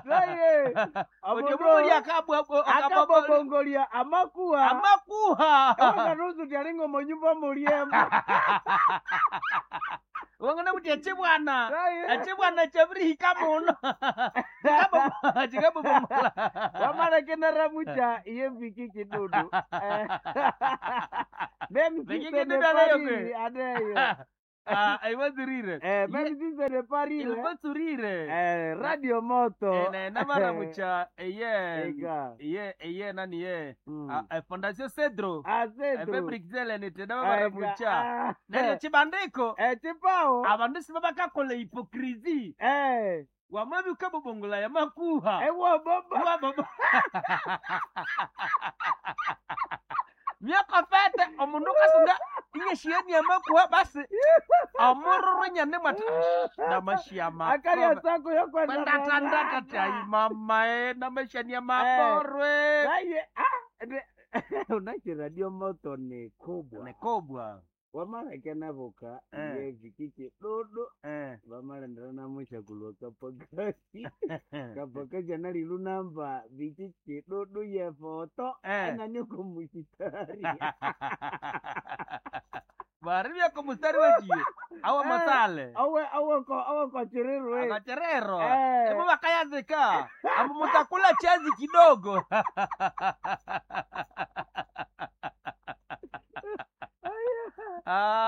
Naye Omundu omundu muli akabobongolia amakuha amakuha ewakanusu tyalinga omonyumba mulyemo. Wangana kuti echibwana Naye echibwana chabirihika muno. Chikabobomola. Wamalekeneramucha iye viki kidudu. Même si Viki ce n'est kidudu pas anayo rire, kwe. aneyo. Ah, aiwazirire. Même si ce n'est pas rire, Ilikuwa surire. Radio Moto. Namaramucha eye Ega. eye eye nani ye. Mm. Ah, Fondation Cedro. Azetu. Fabric nite Ega. namaramucha. Ah. Neryo chibandiko Chipao. abandu sibabakakola hypocrisie. Wamabi ukabobongola yamakuha. Ewa baba. Wa baba. Myaka fete omundu kasunga inyeshieni yamakuha basi omururu nyane mwati namashiama Akali asako yokwenda. kwendatandatatai mama e namashania maborwe Naye ah unachi Radio Moto ni kubwa. nekobwa Wamalekenavuka Eh. iye viki kidudu. eh. Vamalendera namusha kulwa kapakasi. Kapakasi analilu namba viki kidudu ye foto. Eh. Anani kumushitari. Varivya mustari wejiyo awa Eh. masale Awe awe ko awe ko chirirwe. akacherero Eh. emo vakayazika amo mutakula chazi kidogo.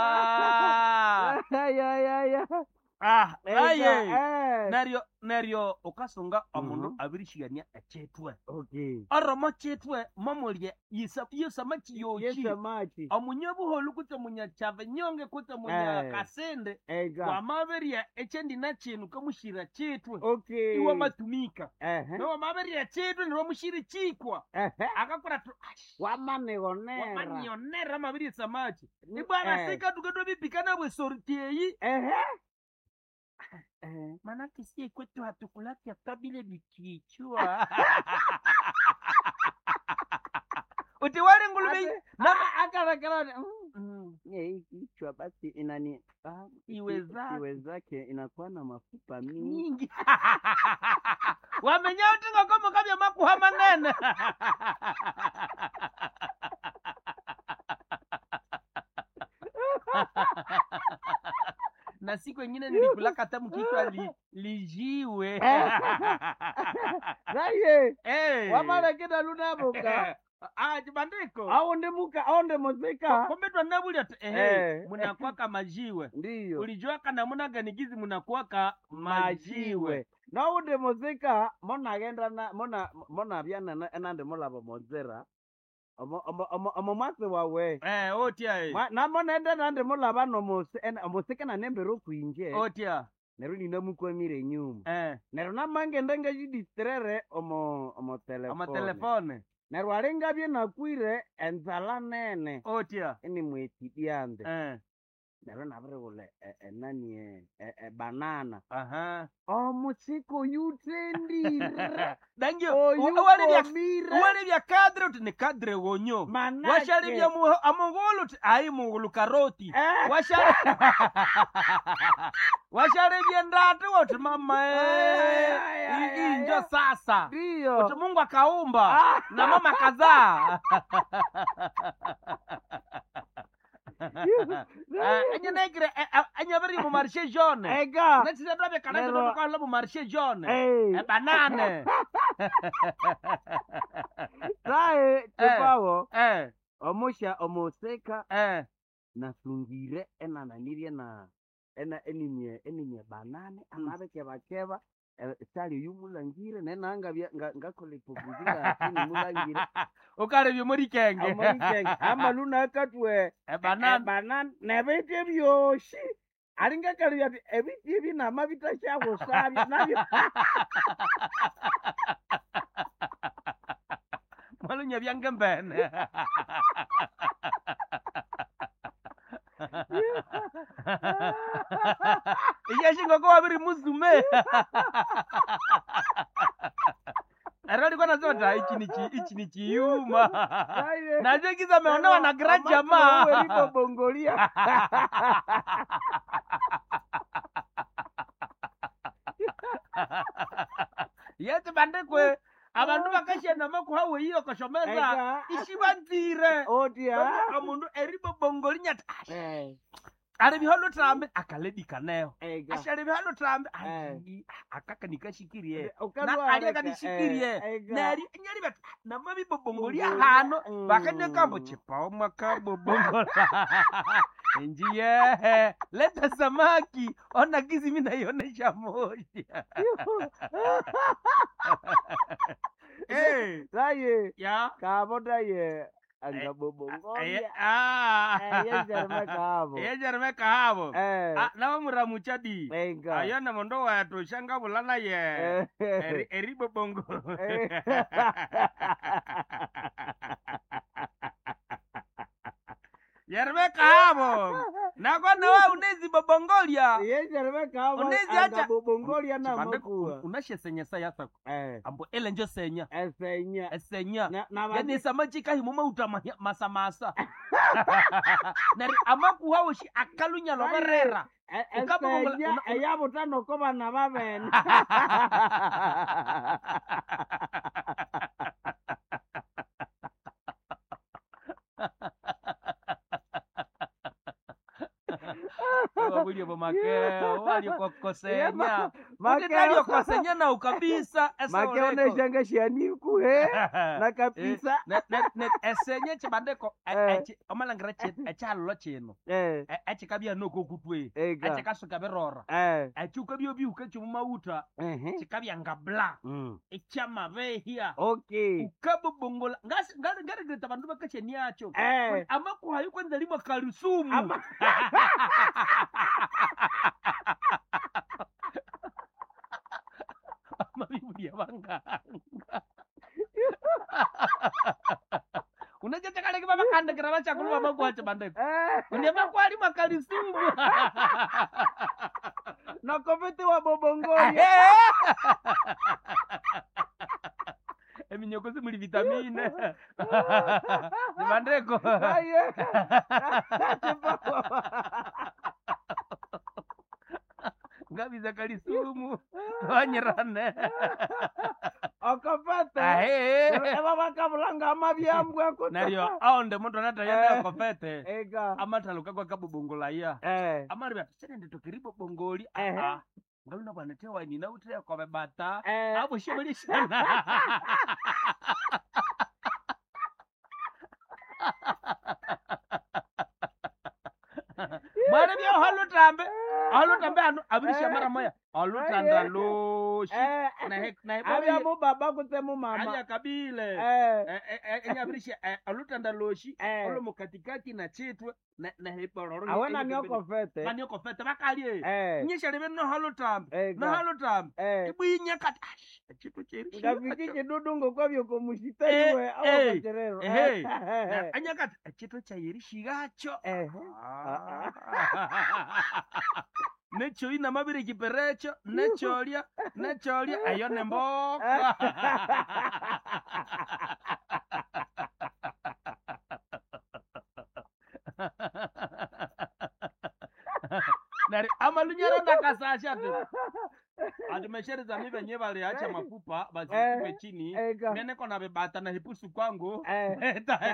Ah. Ay ay ay. ay. Ah, Ega, aye. eh. Neryo neryo ukasunga omundu Mhm. abirishigania echitwe Okay. oromo chitwe momulye yisama chiyochi Yesamachi. omunyabuholu kutse munyakyava nyonge kutse munya Eh. kasende Ega. wamabirya ekyendina chinu kamushira chitwe Okay. iwe matumika Ehe. nowamabirya chitwe niwamushiri chikwa Ehe. akakora tu Wamanionera. wamanionera mabirya samachi ibwana Eh. sika tuketwabipikana bwesortieyi Ehe. Ehe. manake sie kwetu hatukulaki hata bile vikichwa uti wale ngulume Ate- na Akarakara. mm, Hii kichwa basi inani Iwezake. iwezake inakuwa na mafupa mingi. mingi wamenya utinga komo kabya makuha manene. Na siku ingine nilikulaka hata mkichwa lijiwe. Naye Eh. wamalekina lunabuka Ah, chibandiko aunde muka aunde muzika kumbe twanabulya ti ehe Eh. munakwaka majiwe ndiyo ulijuaka namuna ganigizi munakwaka majiwe majiwe naundi muzika monagenda na mona monabyana enandi mulaba monzera omo omo omo omo mwatsi wawe eh otya eh. Namonenda nandi mulaba nomusi omusika nanembere okwinje Otya neryo ninamukwamire enyuma eh neryo namangenda ngayidistrere omo omo telefone amatelefone neryo alingabye nakwire enzala nene otya inimwetidyanze eh neryo nabirighulha enani ebanana aha omusika oyuthendire dangio walibya oyukomire walibya kadre uti ni kadre wonyo manake washalibya amugulu uti ayi mugulu karoti Eh, washali washalibya ndati uti mama Ay, eh ay, ay, hii njo ay. sasa uti ndiyo Mungu akaumba Ah. na mama kazaa. Anyanegre anyabiri mu marché jaune ega nachisa twabe kana Lero- twabe mu marché jaune Eh, banane tae chipawo eh omusha omusika eh nasungire enananirie na ena enimye enimye banane amabekebakeba sali oyumulangire nenangabya ngakola ipokuzi ngasinimulangire ukalebye muri kenge omorikenge amaluna akatwe banane banane nebiti ebyoshi alingakalibya ati ebiti ebi namabitasyakusabya nabyo mwalunya byangembene iyashingoko wabiri muzume ero alikuwa nasema ta ichi ni ichi ni chiyuma nacho kiza ameonewa na grand jamaa bongolia Yeti bandikwe abandu bakashenda makuha weyiyo koshomeza Eka. ishibanzire Otia. omundu eribobongoli nyati Eh. alibihalo lutambi akaledikaneho Eka. ashalibihalo lutambi Eh. akakanikashikirie Ukalwa na aleka, aliyakanishikirie eh, eka. neri nyali bati namabibobongoli Bongoli, ahano mm. bakanyakambo chipao mwakabobongola njiyehe leta samaki ona kizi mi naionesha moja Eh, Taye. ya Kabo taye. Eh, Angabobongolia. ah. Eh, yejerime kabo. Yejerime kahabo Eh. Ah, nawamuramucha di Eka. ayona mondo wetu shangabula naye Eh. eribobongo Eh. yerime kahabo nakona we unezibobongolia Yejerime kabo. Unezi acha- Angabobongolia na Chibande- makuwa. unashesenyesa yasako Eh. ambo elenjo senya Esenya. esenya Na na yani samachika himuma masamasa nari amakuhawoshi akalunya loberera Ukabongola- esenya eyabutano ko bana babene. wabulye bomakeo waliokokosenya Makeo utitaliokosenya nau kabisa makeo neshanga shianikuhe na kabisa. esenye chibandeko Eh. omalangira ekyalolo kino Eh. ekikabya nokokutwe Eka. ekikasuka birora Eh. ekyukabya obihuka kyomumawutha Ehe. kikabya nga bla Mm. ekyamabehya Okay. ukabobongola ngaregreta abandu bakashaniakyo Eh. amakuhayo kwanza limwa kalisumu Ama- amabibulya banganga unachachakaleke vavakandikira vachakulu vamakuhacho bandeko Eh. unemakuhalimwa kalisumu Nakopete wa bobongolia. eminyoko simuli vitamine zibandeko Aye. ngabiza kalisumu wanyirane Okopete. ahe Eba bakabulanga amabyambwa kuta. naryo aonde mundu anatayenda kopete Eka. amathaluka kwakabobongolaya Eh. amari bati senenditokeri bobongoli Ehe. aa ngaluna bwana tewaini nauteya kobe bata Eh. aboshemelishana mwana bya halutambe halutambe hanu abirisha mara moya alutanda loshi Eh. nahe nahe Abya mu baba kutse mu mama. alya kabile Eh. enyabirisha alutanda loshi Eh. olo mukatikati na chitwe nahepororo Awena ni okopete. nani okofete bakalye Eh. nyishalebe nohalutambe Eka. nohalutambe Eh. ibwinya kati ash echitu cheri Ngafiki chidudungo kwabyo komushitaiwe Eh, awokocherero. eh, anyakati echitu chayerishigacho Eh. necho inamabiri kiperecho necholya necholya eyo nemboka nari amalunyara ndakasasha ti atimeshereza mi venye valiacha mafupa vasitupe chini Eka. meneko na vibata na hipusu kwangu Eh. Eta-